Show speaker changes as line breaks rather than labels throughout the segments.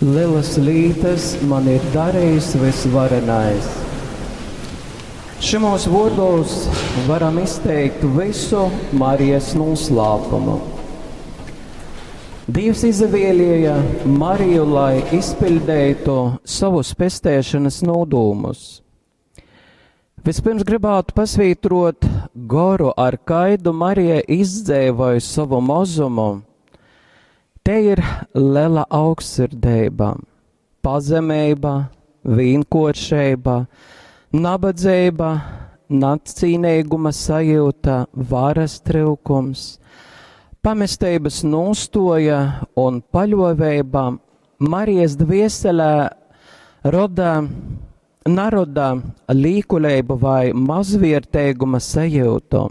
Lelas lītas man ir darījis Vysvarenais. Šymūs vuordūs varam izteikt vysu Marijas nūslāpumu. Dīvs izavielieja Mariju, lai izpiļdeitu sovus pesteišonys nūdūmus. Vispirms gribātu pasvītrot goru, ar kaidu Marija izdzeivoj sovu mozumu. Te ir lela augstsirdeiba, pazemeiba, vīnkuoršeiba, nabadzeiba, nacīneiguma sajiuta, varas tryukums, pamesteibys nūstuoja un paļuoveiba Marijas dvieselē roda, naroda līkuleibu vai mazvierteiguma sajiutu.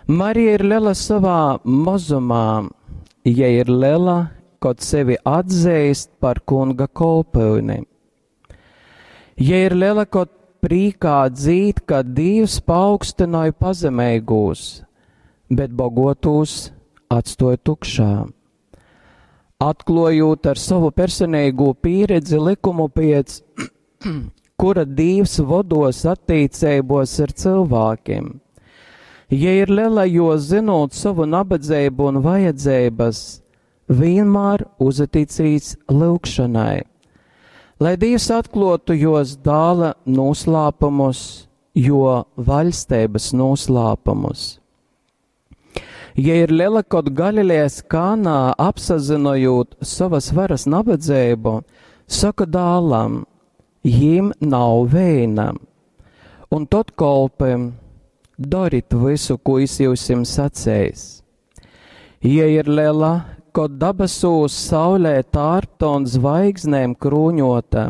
Marija ir lela sovā mozumā, jei ir lela, kod sevi atzeist par kunga kolpyuni. Jei ir lela, kod prīkā dzīd, ka Dīvs paaugstynoj pazemeigūs, bet bogotūs atstuoj tukšā. Atkluojūt ar sovu personeigū pīredzi lykumu piec, kura Dīvs voduos attīceibos ar cylvākim. Jei ir lela, jo zynūt sovu nabadzeibu un vajadzeibas, vienmēr uzaticīs lyugšonai, lai Dīvs atkluotu juos dāla nūslāpumus, juo vaļsteibys nūslāpumus. Jei ir lela, kod Galilejas Kānā apsazynojūt sovas varas nabadzeibu, soka dālam, jīm nav veina. Un tod kolpim, dorit vysu, kū jis jiusim saceis. Jei ir lela, kod dabasūs saulē tārpta un zvaigznēm krūņota,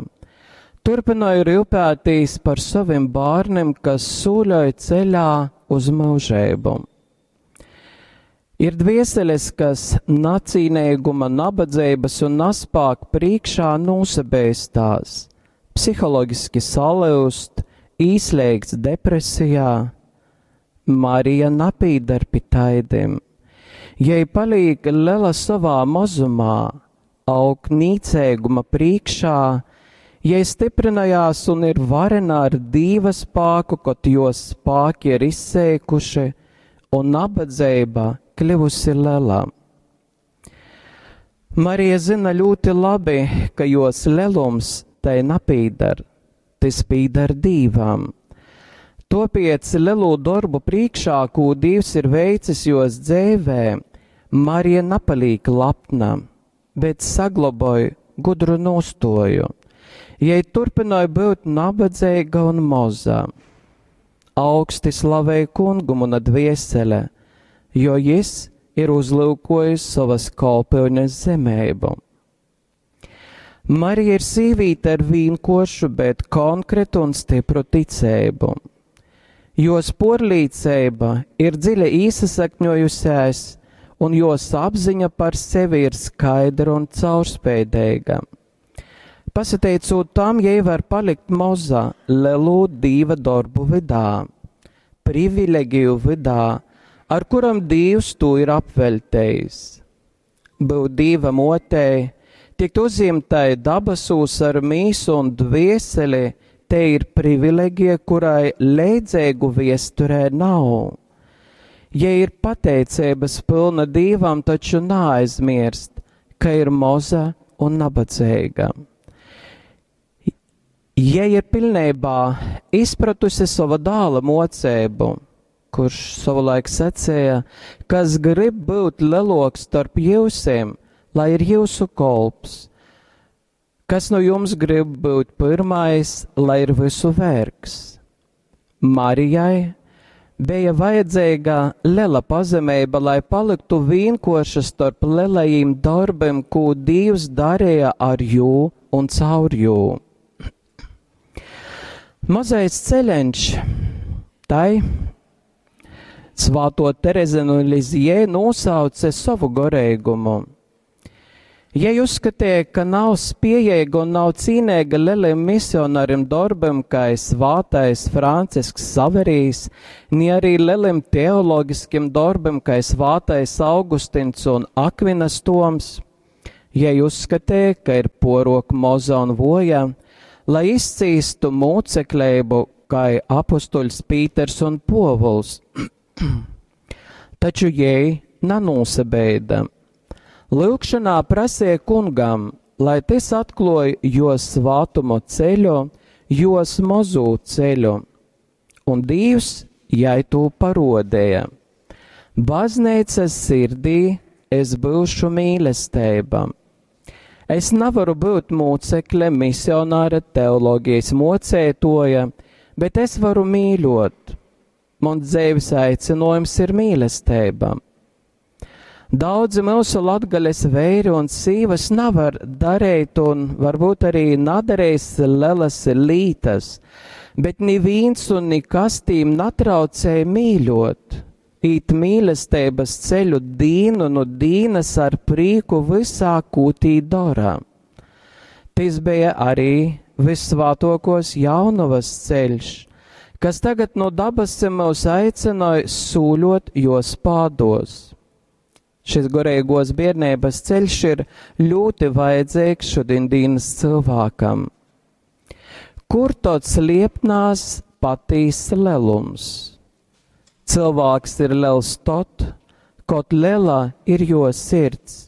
turpynoj ryupētīs par sovim bārnim, kas sūļoj ceļā uz myužeibu. Ir dvieseles, kas nacīneiguma, nabadzeibys un naspāka prīškā nūsabeistās, psihologiski salyuzt, īsleigst depresijā. Marija napīdar pi taidim. Jei palīk lela sovā mozumā, aug nīceiguma prīškā, jei styprynojās un ir varena ar Dīva spāku, kod juos spāki ir izseikuši un nabadzeiba kļuvusi lela. Marija zyna ļūti labi, ka juos lelums tai napīdar, tys pīdar Dīvam. Tuopiec lelū dorbu prīškā, kū Dīvs ir veicis juos dzeivē, Marija napalīk lapna, bet sagloboj gudru nūstuoju. Jei turpynoj byut nabadzeiga un moza. Augsti slavej kungu muna dviesele, jo jis ir uzlyukojis sovas kolpyunes zemeibu. Marija ir sīvīte ar vīnkuoršu, bet konkretu un stipru ticeibu. Juos puorlīceiba ir dziļi īsasakņuojusēs, un juos apziņa par sevi ir skaidra un caurspeideiga. Pasateicūt tam, jei var palikt moza lelū Dīva dorbu vydā, privilegiju vydā, ar kurom Dīvs tū ir apveļtejis. Byut Dīva muotei, tikt uzjimtai dabasūs ar mīsu un dvieseli, tei ir privilegija, kurai leidzeigu viesturē nav. Jei ir pateiceibys pylna Dīvam, taču naaizmierst, ka ir moza un nabadzeiga. Jei ir piļneibā izpratuse sova dāla muoceibu, kurš sovulaik saceja, kas grib byut leluoks storp jiusim, lai ir jiusu kolps. Kas nu jums grib byut pyrmais, lai ir vysu vergs? Marijai beja vajadzeiga lela pazemeiba, lai palyktu vīnkuorša storp lelajim dorbim, kū Dīvs dareja ar jū un caur jū. Mozais ceļeņš tai Svāto Terezi nu Lizjē nūsauce sovu goreigumu. Jei uzskatīja, ka nav spiejeiga un nav cīneiga lelim misionarim dorbim, kai svātais Francisks Saverijs, ni arī lelim teologiskim dorbim, kai svātais Augustins un Akvinas Toms. Jei uzskatīja, ka ir porok moza un voja, lai izcīstu mūcekleibu, kai apustuļs Pīters un Povuls. Taču jei nanūsabeida. Lyugšanā prasīja kungam, lai tys atkluoj jo svātumu ceļu, jos mozū ceļu. Un Dīvs jai tū parodēja. Baznīcas sirdī es būšu mīlestība. Es nevaru būt mūcekle, misionāre, teoloģijas mocētoja, bet es varu mīļot. Mans dzīves aicinājums ir mīlestība. Daudzi mūsu latgales veiri un sīvas nevar darīt un varbūt arī nadarīs lielas lītas, bet neviens un nekas tīm natraucēja mīļot. Īt mīlestības ceļu dīnu no dīnas ar prīku visā kūtī dara. Tis bija arī vissvātokos jaunavas ceļš, kas tagad no dabasim mūs aicināja sūļot jos pādos. Šis garīgos bērnības ceļš ir ļoti vajadzīgs šodien dienas cilvēkam. Kur tad sliepnās patīs lelums? Cilvēks ir liels tot, kot liela ir jo sirds,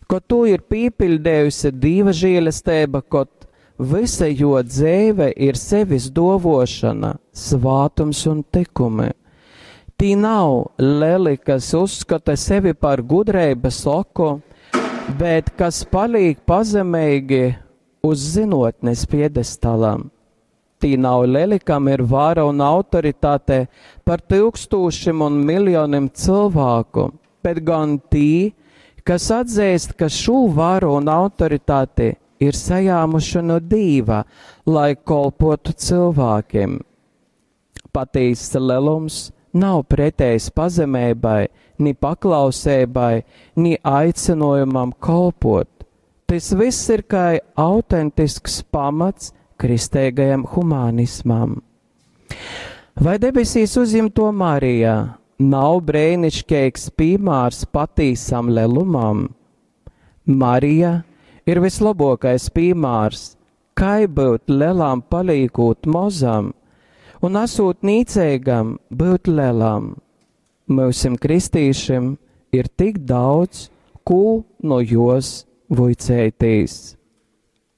kot to ir pīpildējusi dīva žēlastība, kot visa jo dzēve ir sevis dovošana, svātums un tikumi. Tī nav leli, kas uzskata sevi par gudrības oku, bet kas paliek pazemīgi uz zinotnes piedestālam. Tī nav leli, kam ir vara un autoritāte par tūkstošiem un miljoniem cilvēku, bet gan tī, kas atzīst, ka šo varu un autoritāti ir sajāmuši no Dīva, lai kolpotu cilvēkiem. Patīsts lelums nav pretējs pazemībai, ni paklausībai, ni aicinājumam kolpot. Tas viss ir kā autentisks pamats kristīgajam humanismam. Vai debesīs uzņemto Marijā nav brēnišķīgs piemērs patīsam lelumam? Marija ir vislabākais piemērs, kā būt lielām palīkot mozam un esot nīcīgam būt lielam. Mūsim kristīšiem ir tik daudz, ko no jos vuicētīs.